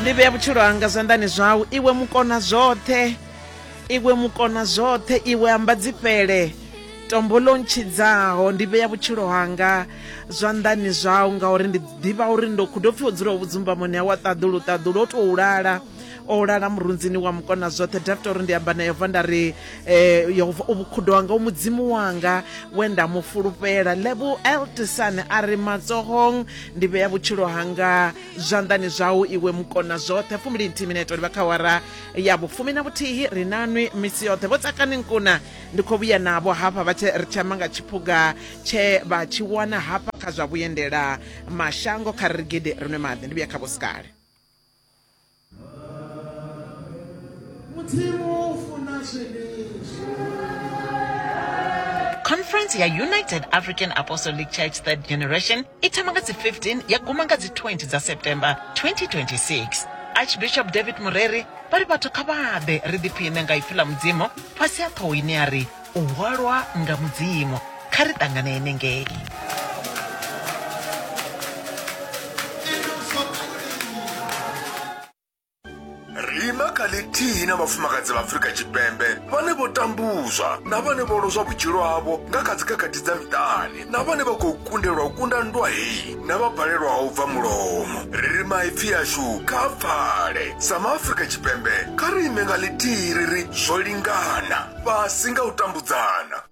Ndi vhea vhutshilo hanga zwanḓani zwau, iwe mukona zwoṱhe, iwe mukona zwoṱhe, iwe amba dzifhele, tombo ḽo ntshidzaho. Ndi vhea vhutshilo hanga zwanḓani zwau, ngauri ndi ḓivha uri ndo khudo pfi o dzulaho vhudzumbamoni ha wa ṱaḓulu ṱaḓulu o tou lala o lala murunzini wa mukona zwoṱhe. Dafita uri ndi amba na Yehova nda ri, eh, Yehova u vhukhudo hanga, u Mudzimu wanga we nda mu fulufhela. Lebo Eltisan a ri, Matsohong ndi vhea vhutshilo hanga zwanḓani zwau, iwe mukona zwoṱhe. 20 minete livha kha awara ya vhufumi na vhuthihi. Ri nanwi misi yoṱhe. Vho Tsakani Nkuna ndi khou vhuya navho hafha vha tshi ri tshi amba nga tshiphuga tshe vha tshi wana hafha kha zwa vhuendela mashango. Kha ri ri gidi ri nwe maḓi, ndi vhuya kha Vho Sikale. Mudzimu u funa zwenezwi. Conference ya United African Apostolic Church Third Generation i thoma nga dzi 15 ya guma nga dzi 20 dza September 2026. Archbishop David Mureri vha ri vhathu kha vha ḓe ri ḓiphiṋe nga ipfi ḽa Mudzimu fhasi ha ṱhoho ine ya ri U hwalwa nga Mudzimu. Kha ri ṱangane henengei. Ri ima kha ḽithihi na vhafumakadzi vha Afrika Tshipembe vhane vho tambuzwa na vhane vho lozwa vhutshilo havho nga kha dzikhakhathi dza miṱani na vhane vha khou kundelwa u kunda nndwa heyi na vha balelwaho u bva mulomo. Ri ri maipfi ashu kha a pfale. Sa maAfrika Tshipembe, kha ri ime nga ḽithihi ri ri zwo lingana, fhasi nga u tambudzana.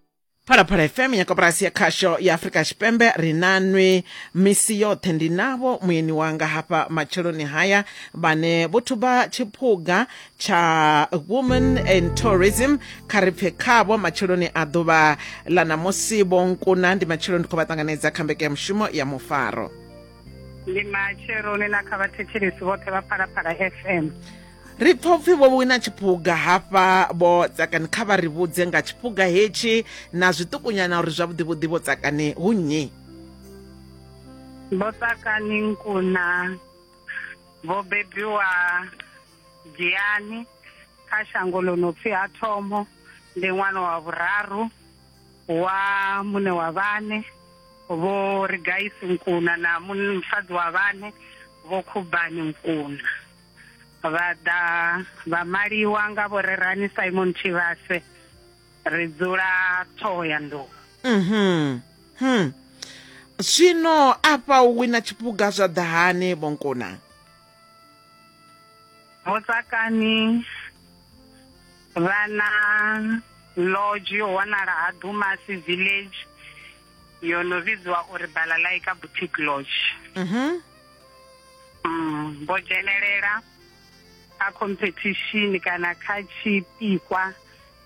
Phalaphala FM ya koporasi ya khasho ya Afrika Tshipembe ri na nwi misi yoṱhe. Ndi navho muyeni wanga hafha matsheloni haya vhane vho thuba tshiphuga tsha Women in Tourism. Kha ri pfe khavho matsheloni a ḓuvha ḽa ṋamusi. Vho Nkuna, ndi matsheloni, ndi khou vha ṱanganedza kha mbekanyamushumo ya Mufaro. Ndi matsheloni na kha vhathetshelesi vhoṱhe vha Phalaphala FM. Ri pfa upfi vho wina tshiphuga hafha Vho Tsakani, kha vha ri vhudze nga tshiphuga hetshi na zwiṱukunyana uri zwavhuḓivhuḓi Vho Tsakani hu nnyi? Vho Tsakani Nkuna vho bebiwa Giyani kha shango ḽo no pfi ha Thomo, ndi ṅwana wa vhuraru wa muṋe wa vhane Vho Rigaisi Nkuna na musadzi wa vhane Vho Khubani Nkuna. Vha ḓa vha maliwa nga Vho Rerani Simon Tshivhase. Ri dzula Ṱhohoyanḓou. Mhm. Hmm. Zwino afha u wina tshiphuga zwa ḓa hani Vho Nkuna? Vho Tsakani vha na lodge yo wanala ha Dumasi Village yo no vhidziwa uri Balalaika Boutique Lodge. Mhm. Vho dzhenelela kha competition kana kha tshipikwa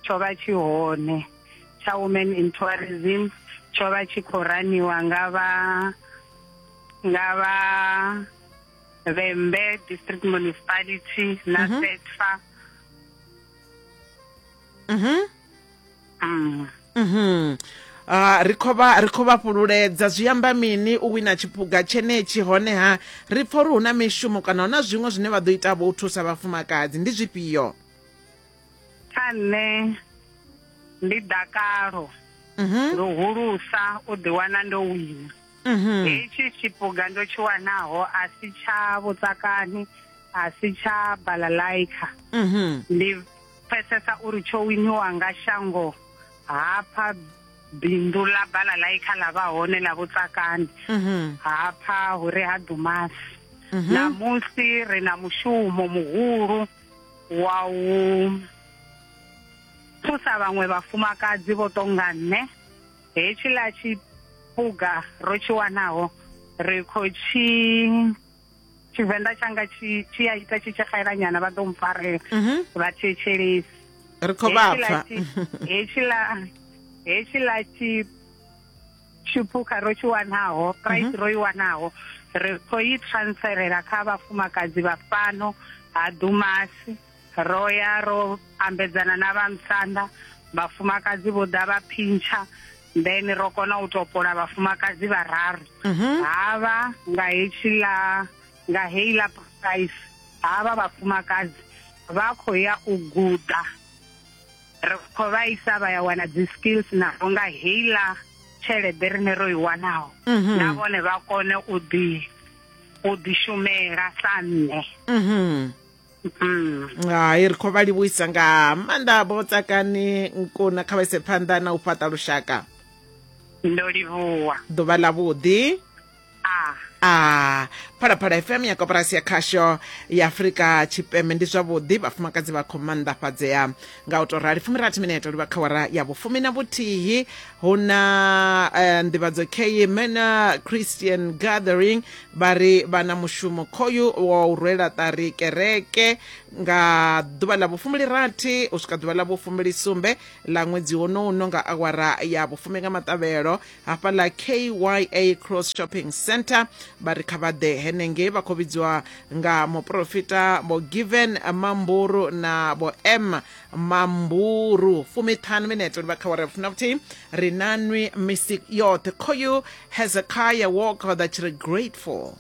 tsho vha tshi hone tsha Women in Tourism, tsho vha tshi khou raniwa nga vha nga vha Vhembe District Municipality na SEDFA. Mhm. Ah, ri khou vha ri khou vha fhululedza. Zwi amba mini u wina tshiphuga tshenetshi? Honeha ri pfa uri hu na mishumo kana hu na zwiṅwe zwine vha ḓo ita vho u thusa vhafumakadzi, ndi zwifhio? Kha nṋe ndi dakalo luhulusa u ḓiwana ndo wina. Hetshi tshiphuga ndo tshi wanaho a si tsha Vhutsakani, a si tsha Balalaika. Ndi pfesesa uri tsho winiwa nga shango hafha bindu ḽa Balalaika ḽa vha hone ḽa Vhutsakani hafha hu re ha Dumasi. Ṋamusi ri na mushumo muhulu wa u thusa vhaṅwe vhafumakadzi vho tonga nṋe. Hetshiḽa tshiphuga ro tshi wanaho ri khou tshi Tshivenḓa tshanga tshi tshi a ita tshi tshi xela nyana, vha ḓo mpfarela vhathetshelesi. Ri khou vha pfa. Hetshiḽa hetshiḽa tshi tshiphukha ro tshi wanaho, prize ro i wanaho, ri khou i transferela kha vhafumakadzi vha fhano ha Dumasi. Ro ya ro ambedzana na vha Musanda, vhafumakadzi vho ḓa vha phintsha, then ro kona u topola vhafumakadzi vhararu. Havha nga hetshiḽa, nga heiḽa prize, havha vhafumakadzi vha khou ya u guda. Ri khou vha isa vha ya wana dzi skills navho nga heiḽa tshelede rine ro i wanaho, na vhone vha kone u ḓi. u ḓishumela sa nṋe. Mhm. Hai, ri khou vha livhuisa nga maanḓa Vho Tsakani Nkuna, kha vha ise phanḓa na u fhaṱa lushaka. Ndo livhuwa. Ḓuvha ḽa vhuḓi. A. A Phalaphala FM ya koporasi ya khasho ya Afrika Tshipembe. Ndi zwavhuḓi, vhafumakadzi vha khou maanḓafhadzea nga u tou rali. 60 minete livha kha wara ya vhufumi na vhuthihi. Hu na nḓivhadzo kei Manor Christian Gathering, vha ri vha na mushumo khoyu wa u rwela ṱari kereke nga ḓuvha ḽa vhufumbilirathi u swika ḓuvha ḽa vhufumbilisumbe ḽa ṅwedzi wonouno nga awara ya vhufumi nga maṱavhelo hafhaḽa KYA Cross Shopping Center. Vha ri kha vha ḓe henengei, vha khou vhidziwa nga muporofita Vho Given Mamburu na Vho M Mamburu. 50 minete livha kha wara funa vhuthihi. Ri na nwi misi yoṱhe. Khoyu Hezekiah Walker ḓa tshi ri grateful.